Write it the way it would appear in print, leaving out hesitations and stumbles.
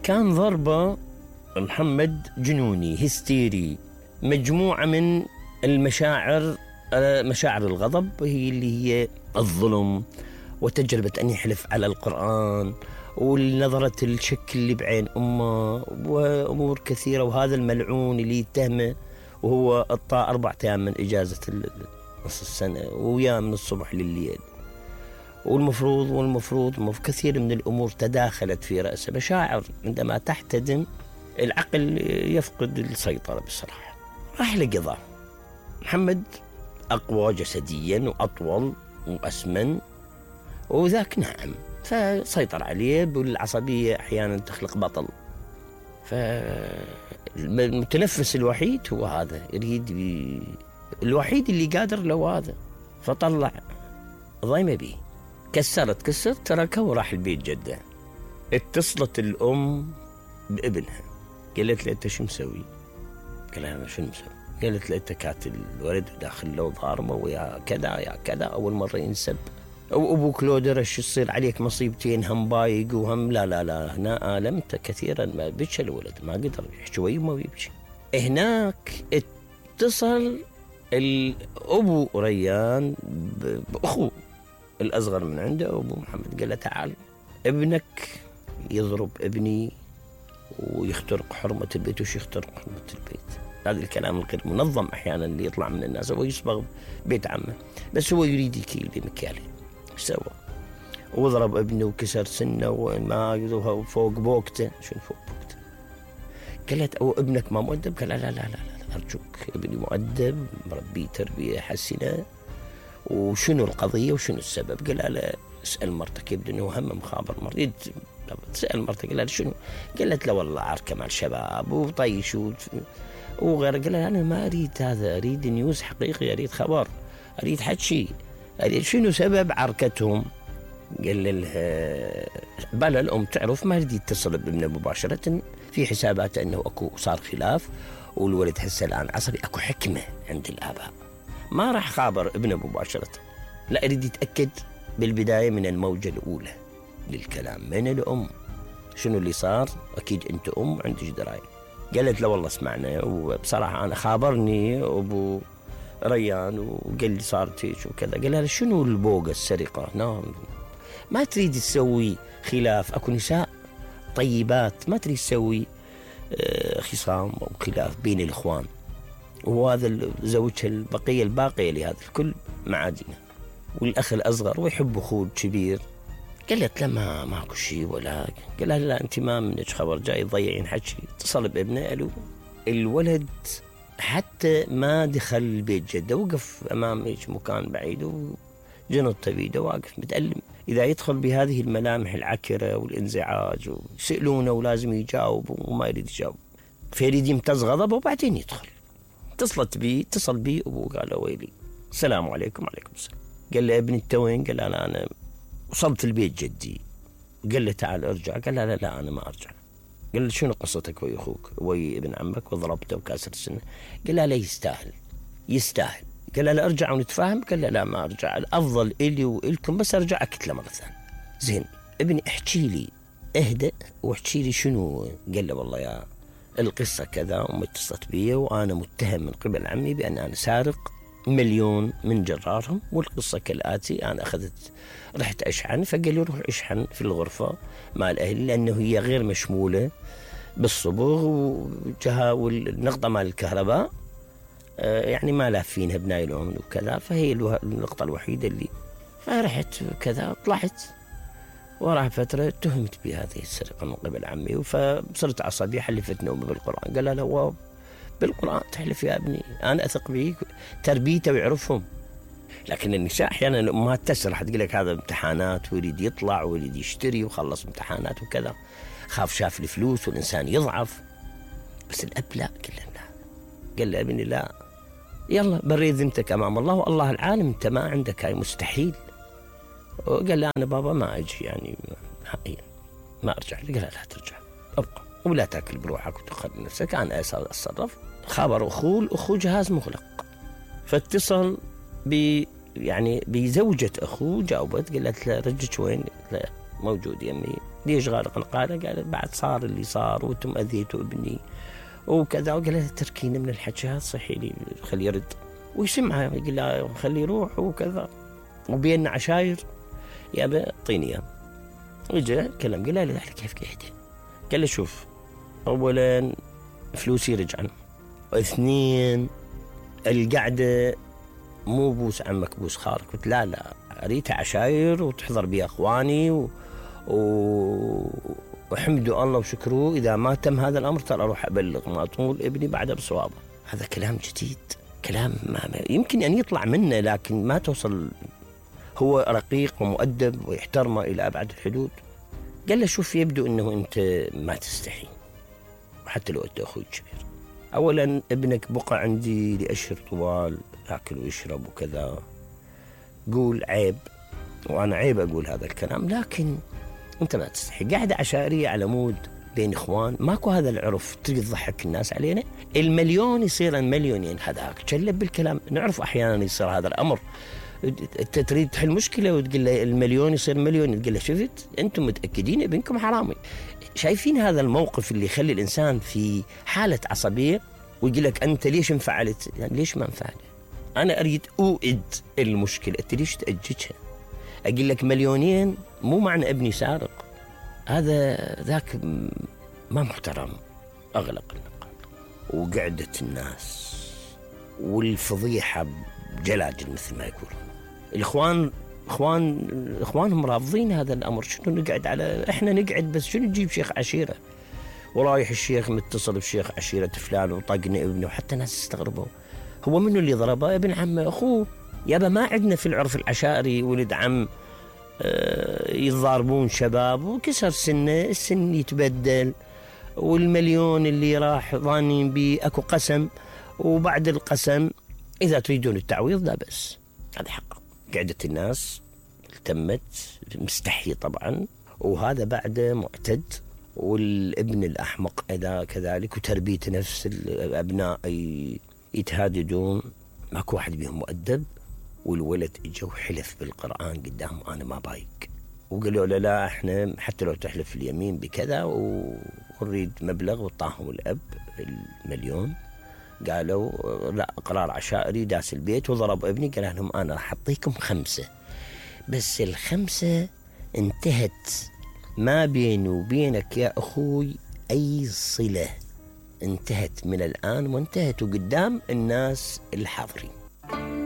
كان ضربه محمد جنوني هستيري، مجموعة من المشاعر، مشاعر الغضب هي اللي هي الظلم، وتجربة أن يحلف على القرآن، والنظرة الشك اللي بعين أمه، وأمور كثيرة. وهذا الملعون اللي يتهمه وهو أطاع 4 أيام من إجازة نص السنة وياه من الصبح لليل، والمفروض كثير من الأمور تداخلت في رأسه. مشاعر عندما تحتدم العقل يفقد السيطرة بصراحة. راح لقضاء. محمد أقوى جسديا وأطول وأسمن، وذاك ناعم، فسيطر عليه. بالعصبية أحيانا تخلق بطل، فالمتنفس الوحيد هو هذا، يريد الوحيد اللي قادر له هذا. فطلع ضيمة بيه، كسرت تركه وراح البيت جده. اتصلت الأم بابنها، قالت له أنت شو مسوي؟ قال لها أنا شو مسوي؟ قالت له أنت كاتل الولد وداخل له ضاربه ويا كذا يا كذا، أول مرة ينسب، أو أبوك لو درش يصير عليك مصيبتين، هم بايق وهم لا هنا آلمت كثيرا. ما بيتش الولد، ما قدر شوي وما بيبكي. هناك اتصل الأبو ريان بأخوه الأصغر من عنده، أبو محمد، قال له تعال ابنك يضرب ابني ويخترق حرمة البيت. وش يخترق حرمة البيت؟ هذا الكلام الغير منظم أحيانا اللي يطلع من الناس. هو يصبغ بيت عمه، بس هو يريد يكيل بمكياله. سوى وضرب ابنه وكسر سنه وما فوق بوقته. شنو فوق بوقته؟ قالت أو ابنك ما مؤدب؟ قال لا أرجوك، ابني مؤدب، مربي تربية حسنة. وشنو القضية وشنو السبب؟ قال لا اسأل مرتك، يبدو أنه هم مخابر مريض. تسأل مرتك. قال لا شنو؟ قالت لا والله عركة مع الشباب وطيش وغير. قال لا أنا ما أريد هذا، أريد نيوز حقيقي، أريد خبر، أريد حكي، أريد شنو سبب عركتهم. قال لها بلا الأم تعرف، ما يريد يتصل بابنه مباشرة، في حساباته أنه أكو صار خلاف والولد هسه الآن عصبي، أكو حكمة عند الآباء. ما راح خابر ابنه مباشرة، لا أريد يتأكد بالبداية من الموجة الأولى للكلام من الأم. شنو اللي صار؟ أكيد أنت أم عندك دراية. قالت له والله اسمعنا، وبصراحة أنا خابرني أبو ريان وقال لي صارت هيك وكذا. قال لها شنو البوقة السرقة؟ نعم، ما تريد تسوي خلاف، أكو نساء طيبات ما تريد تسوي خصام أو خلاف بين الإخوان، وهذا زوجها الباقية لهذا الكل معادنة، والأخ الأصغر ويحب أخوه الكبير. قالت له ماكو شيء ولا. قال لها لا أنت ما منك خبر، جاي تضيعين حكي. اتصل بابنه، قالوا الولد حتى ما دخل البيت جده، وقف أمام هيك مكان بعيد وجنطه بيده واقف متألم. إذا يدخل بهذه الملامح العكرة والانزعاج ويسألونه ولازم يجاوب وما يريد يجاوب، فيريد يمتز غضبه وبعدين يدخل. اتصل بي أبوه، قال له ويلي السلام عليكم. وعليكم السلام. قال له ابني انت وين؟ قال له أنا وصلت البيت جدي. قال له تعال ارجع. قال له لا أنا ما أرجع. قال له شنو قصتك ويا أخوك ويا ابن عمك وضربته وكاسر السنة؟ قال له لا يستاهل. قال له لا أرجع ونتفاهم. قال له لا ما أرجع، الأفضل إلي وإلكم بس أرجع أكتله مرة ثانية. زين ابني احكي لي، اهدأ واحكي لي شنو. قال له والله يا القصة كذا، أمي اتصلت بي وأنا متهم من قبل عمي بأن أنا سارق 1,000,000 من جرارهم، والقصة كالآتي: أنا رحت أشحن، فقال لي روح أشحن في الغرفة مال أهلي لأنه هي غير مشمولة بالصبغ والنقطة مال الكهرباء يعني ما لافينها بنايلون وكذا، فهي النقطة الوحيدة اللي. فرحت كذا طلعت، وراح فترة اتهمت بهذه السرقة من قبل عمي، فصرت عصبي، حلفت نومي بالقرآن. قال لا بالقرآن تحلف يا ابني، أنا أثق بيك، تربيته ويعرفهم. لكن النساء أحيانا الأمهات تسرح، تقول لك هذا امتحانات ويريد يطلع ويريد يشتري وخلص امتحانات وكذا، خاف شاف الفلوس والإنسان يضعف. بس الأب لا، قال له ابني لا، يلا بريد ذمتك أمام الله والله العالم، أنت ما عندك هاي، مستحيل. وقال له أنا بابا ما أجي يعني ما أرجع. قال لا ترجع، أبقى ولا تأكل بروحك وتخرج نفسك، أنا أتصرف. خبر أخوه جهاز مغلق، فاتصل يعني بزوجة أخوه، جاوبت قالت له رجك وين؟ موجود يمي، ليش غارق القارة؟ قال بعد صار اللي صار وانتم أذيتوا ابني وكذا. وقال له تركينا من الحكي هذا، صحي لي خليه يرد ويسمعها، يقول له خليه يروح وكذا، وبيننا عشاير يابا اعطيني اياه. وجاء كلام، قال له كيف قاعد؟ قال له شوف، اولا فلوسي رجعن، اثنين القعده مو بوس عمك بوس خالك. قلت لا اريدها عشاير وتحضر بي اخواني وحمدوا الله وشكروه، اذا ما تم هذا الامر ترى اروح ابلغ ماطول ابني بعده بصوابه. هذا كلام جديد، كلام ما يمكن ان يطلع منه، لكن ما توصل. هو رقيق ومؤدب ويحترمه الى ابعد الحدود. قال له شوف، يبدو انه انت ما تستحي، وحتى لو انت اخوي الكبير. اولا ابنك بقى عندي لاشهر طوال، ياكل ويشرب وكذا، قول عيب، وانا عيب اقول هذا الكلام، لكن انت ما تستحي. قاعده عشائريه على مود بين اخوان، ماكو هذا العرف تريد تضحك الناس علينا. المليون يصير المليونين، هذاك تشلب بالكلام. نعرف احيانا يصير هذا الامر، انت تريد تحل مشكله وتقول له المليون يصير مليون، تقول له شفت انتم متاكدين ابنكم حرامي. شايفين هذا الموقف اللي يخلي الانسان في حاله عصبيه، ويقول لك انت ليش انفعلت؟ يعني ليش ما انفعل؟ انا اريد اوئد المشكله، انت ليش تاججها؟ اقول لك مليونين مو معنى ابني سارق، هذا ذاك ما محترم. اغلق النقاط، وقعدة الناس والفضيحه بجلاجل مثل ما يقولون. الاخوان اخوانهم رافضين هذا الامر. شنو نقعد على، احنا نقعد بس شنو نجيب شيخ عشيره، ورايح الشيخ متصل بشيخ عشيره فلان وطقنا ابنه، وحتى ناس استغربوا. هو منو اللي ضربه؟ ابن عمه اخوه. يابا ما عندنا في العرف العشائري ولد عم يتضاربون شباب وكسر سنه، السن يتبدل، والمليون اللي راح ظانين بيه اكو قسم، وبعد القسم اذا تريدون التعويض لا بس. هذا حق. قعدة الناس التمت، مستحي طبعا، وهذا بعده معتد. والابن الأحمق إذا كذلك، وتربية نفس الأبناء يتهاددون، ماكو واحد بيهم مؤدب. والولد اجى وحلف بالقرآن قدام أنا ما بايق، وقالوا له لا احنا حتى لو تحلف اليمين بكذا ونريد مبلغ، وطاهم الأب المليون. قالوا لا، قرار عشائري. داس البيت وضرب ابني، قال لهم أنا راح أعطيكم 5، بس ال5 انتهت ما بيني وبينك يا أخوي أي صلة، انتهت من الآن، وانتهت قدام الناس الحاضرين.